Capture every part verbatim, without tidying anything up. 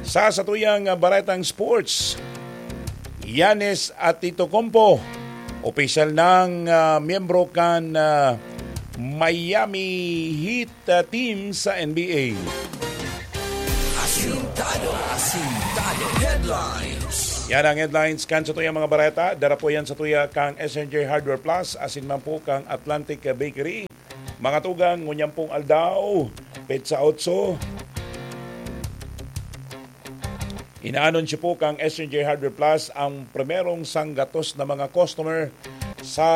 Sa satuyang, ah, baretang sports, Giannis Antetokounmpo, opisyal nang, ah, miyembro kan, ah, Miami Heat, ah, team sa N B A. Asintado, asintado. Headlines. Yan ang headlines kan satuyang mga bareta. Dara po yan satuya kang S N J Hardware Plus, asin man po kang Atlantic Bakery. Mga tugang, ngunyan pong aldaw, petsa otso, inaanunsyo po kang S N J Hardware Plus ang primerong sanggatos na mga customer sa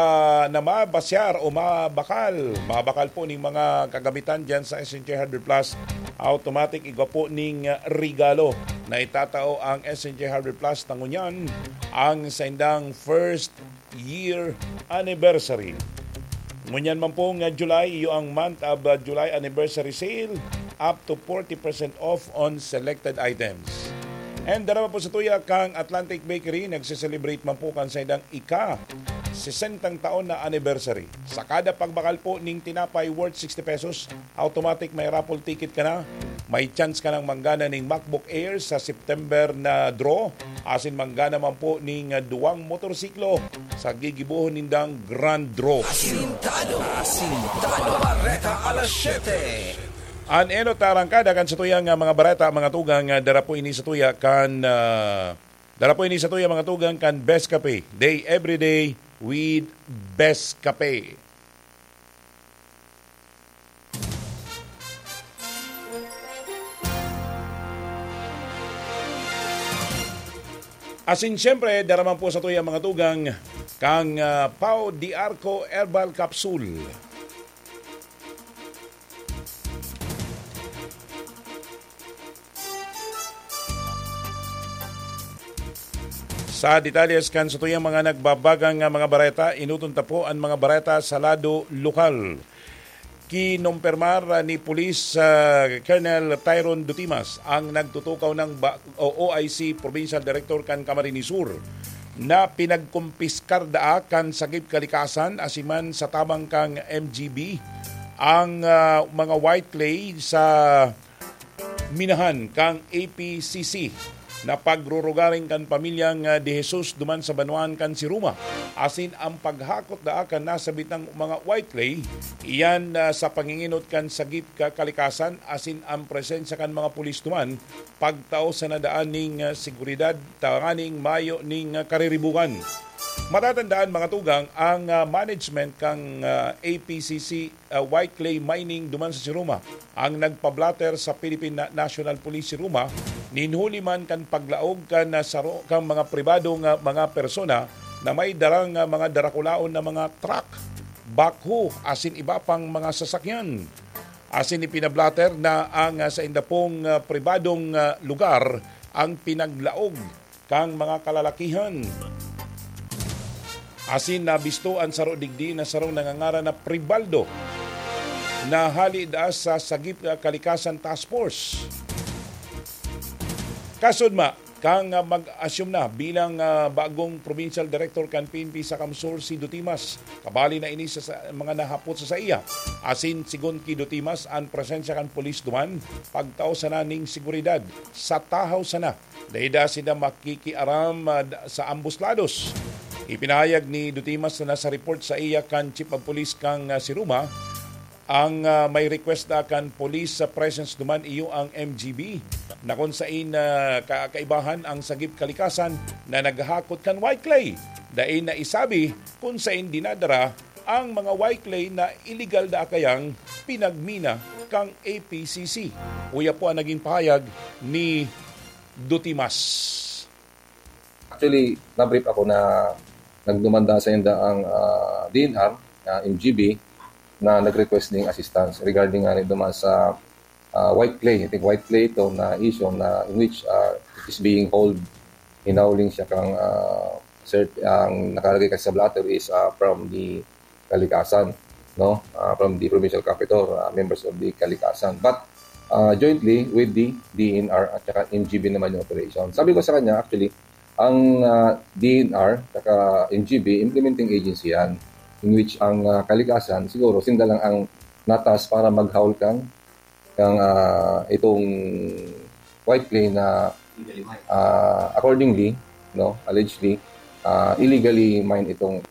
na mabasyar o mabakal, mabakal po ning mga kagamitan diyan sa S N J Hardware Plus. Automatic igwa po ning regalo na itatao ang S N J Hardware Plus na ngunyan ang saindang first year anniversary. Ngunyan man pong, ah, July, iyo ang month of, ah, July anniversary sale, up to forty percent off on selected items. And dara po satuya kang Atlantic Bakery, nagse-celebrate man po kan saindang ika sesentang taon na anniversary. Sa kada pagbakal po ning tinapay worth sixty pesos, automatic may raffle ticket ka na. May chance ka nang manggana ning MacBook Air sa September na draw. Asin manggana man po ning, ah, duwang motorsiklo sa gigibohon nindang grand draw. Asintado, asintado. Bareta alas siyete. An enot na arangkada kan satuyang, ah, mga bareta, mga tugang, ah, dara po ini satuya kan, ah, dara po ini satuya, mga tugang, kan Best Cafe. Day every day with Best Cafe. Asin siyempre, dara man po satuya, mga tugang, kang, ah, Pau de Arco Herbal Capsule. Sa detalles kan satuyang mga nagbabagang, ah, mga bareta, inuton ta po an mga bareta sa lado lokal. Kinumpirmar, ah, ni Police, ah, Colonel Tyron Dutimas, ang nagtutukaw ng ba-, o O I C Provincial Director kan Camarines Sur, na pinagkumpiskar daa kan Sagip Kalikasan, asin man sa tabang kang M G B, ang, ah, mga white clay sa minahan kang A P C C na pagrurugaring kan pamilyang, ah, De Jesus duman sa banwaan kan Siruma, asin ang paghakot daa kan nasabitang mga white clay, iyan, ah, sa panginginot kan Sagip ka Kalikasan asin ang presensya kan mga pulis duman, pagtao sana daan ning, ah, seguridad tanganing mayo ning, ah, kariribukan. Matatandaan, mga tugang, ang, ah, management kang, ah, A P C C, ah, white clay mining duman sa Siruma, ang nagpablatter sa Philippine Na-, National Police Siruma, nin huli man kan paglaog kan, ah, saro kang mga pribadong, ah, mga persona na may darang, ah, mga darakulaon na mga truck, backhoe, asin iba pang mga sasakyan. Asin ipinablatter na ang, ah, sainda pong, ah, pribadong, ah, lugar ang pinaglaog kang mga kalalakihan. Asin nabisto an saro digdi na sarong nangangaran na Pribaldo, na hali daa sa Sagip Kalikasan Task Force. Kasudma, kang, ah, mag-assume na bilang, ah, bagong provincial director kan P N P sa CamSur si Dutimas. Kabali na ini sa, sa mga nahapot sa saiya. Asin, sigon ki Dutimas, an presensya kan pulis duman, pagtao sana ning seguridad. Sa tahaw sana, dai daa sinda makikiaram, ah, da-, sa ambos lados. Ipinahayag ni Dutimas na sa report saiya kan Chief of Police kang, ah, Siruma, ang, ah, may request na kan police sa presence duman iyo ang M G B, na kun sain, ah, ka-, kaibahan ang Sagip Kalikasan na naghahakot kan white clay. Dai na isabi kun sain dinadara ang mga white clay na iligal na kayang pinagmina kang A P C C. Uya po ang naging pahayag ni Dutimas. Actually, na-brief ako na nagdumanda sa inda ang, ah, D N R, ah, M G B, na nag-request ning assistance regarding nga rin duman sa, ah, white clay. I think white clay ito na issue na in which, ah, it is being hauled, hinauling siya kang, ah, cert-, ang nakalagay kasi sa blotter is, ah, from the Kalikasan, no? Ah, from the provincial capital, ah, members of the Kalikasan. But, ah, jointly with the D N R at saka M G B naman yung operation. Sabi ko sa kanya, actually, ang, ah, D N R saka M G B, implementing agency yan, in which ang, ah, Kalikasan, siguro, sinda lang ang natas para maghaul kang, kang, ah, itong white clay na, ah, accordingly, no, allegedly, ah, illegally mine itong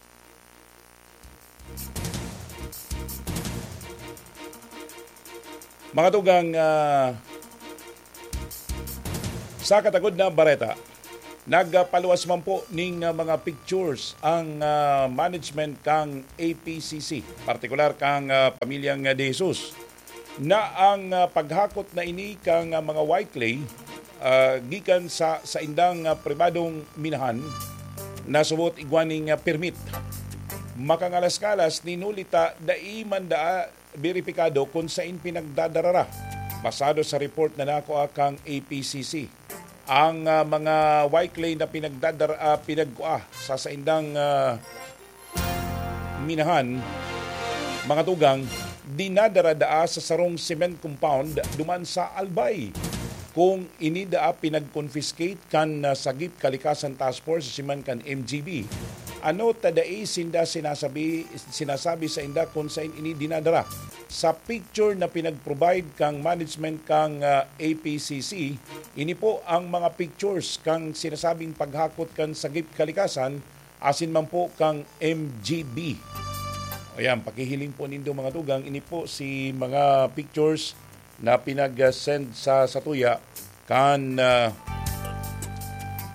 Mga tugang, ah, sa katagod na bareta, nagpaluwas man po ning, ah, mga pictures ang, ah, management kang A P C C, partikular kang, ah, pamilyang, ah, De Jesus, na ang, ah, paghakot na ini kang, ah, mga white clay, ah, gikan sa saindang, ah, pribadong minahan na subot igwa ning, ah, permit. Makangalas-ngalas, ninulita, dai man daa beripikado kun sain pinagdadarara. Basado sa report na nakua kang A P C C, ang, ah, mga white clay na pinagdadara, ah, pinagkua sa saindang, ah, minahan, mga tugang, dinadara daa sa sarong cement compound duman sa Albay. Kung ini daa pinag-confiscate kan, ah, Sagip Kalikasan Task Force siman kan M G B, ano ta dai sinda sinasabi, sinasabi sa inda kung sain ini dinadara? Sa picture na pinag-provide kang management kang, ah, A P C C, ini po ang mga pictures kang sinasabing paghakot kan Sagip Kalikasan asin man po kang M G B. Ayan, pakihiling po nindo mga tugang, ini po si mga pictures na pinag-send sa satuya kan, ah,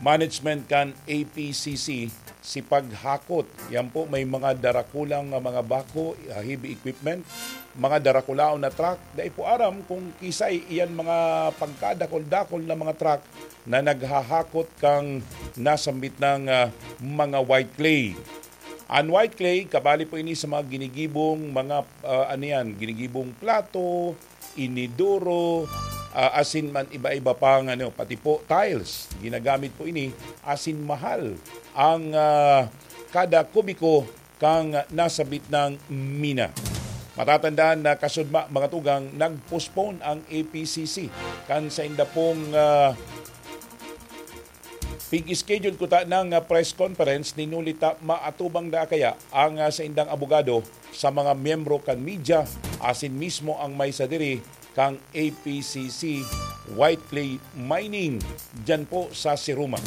management kan A P C C si paghakot. Yan po, may mga darakulang, ah, mga bako, ah, heavy equipment, mga darakulaon na truck. Dai po aram kung kisay iyan mga pagkadakol-dakol na mga truck na naghahakot kang nasambit ng, ah, mga white clay. Ang white clay, kabali po ini sa mga ginigibong mga, ah, ano yan, ginigibong plato, inidoro, ah, asin man iba-iba pang ano, pati po tiles. Ginagamit po ini, asin mahal ang, ah, kada kubiko kang nasabit ng mina. Matatandaan na kasudma, mga tugang, nag-postpone ang A P C C kan sainda pong, ah, pig-schedule kuta ng, ah, press conference, ninulita maatubang na kaya ang, ah, saindang abogado sa mga miyembro kan media, asin mismo ang may sadiri kang A P C C white clay mining diyan po sa Siruma.